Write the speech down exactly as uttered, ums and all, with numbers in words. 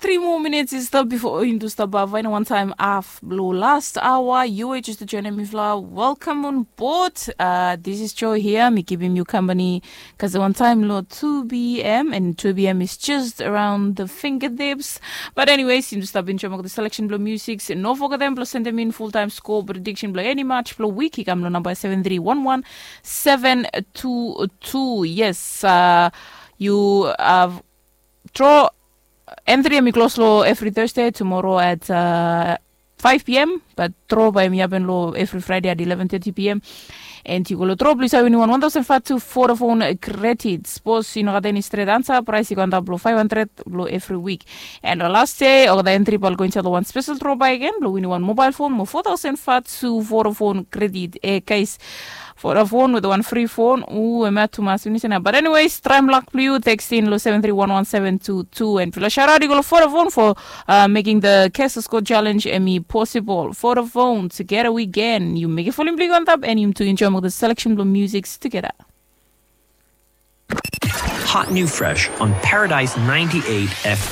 Tri moa minits i stap bifo yumi tu stap bavaina wantaim haf blong last aoa. Yu e just joinim mifala, welcome on board. Uh, this is Joy here, mi givim yu company kasem wantaim long two p.m. and two p.m. is just around the fingertips. But anyways, yumi tu stap enjoim olgeta selection blong music. No fogetem blong sendem in full time score prediction blong eni match blong wik i kam long namba seven three one one seven two two. Yes, uh, yu have draw entry em i klos long every Thursday, tomorrow at uh, five p.m. But draw bae em i hapen long every Friday at eleven thirty p.m. And yu go long draw blong yu save winim wan one thousand five to Vodafone credit. Sapos yu no gat eni stret ansa, praes i go antap long five hundred long every week. And long last day olgeta entry bae oli go insaed long wan spesel draw bakegen blong winim wan mobile phone mo four thousand five to Vodafone credit. E guys, Vodafone with wan free phone. U, em ya tumas finis ena. But anyways, traem lak blong yu, text in long seven three one one seven two two. And blong shout out i go long Vodafone for uh, making the Cash Score Challenge em i possible. Vodafone, together we can. Yu mekem volume blong yu antap and yumi tu enjoim olgeta selection blong music together. Hot new fresh on Paradise ninety-eight F M.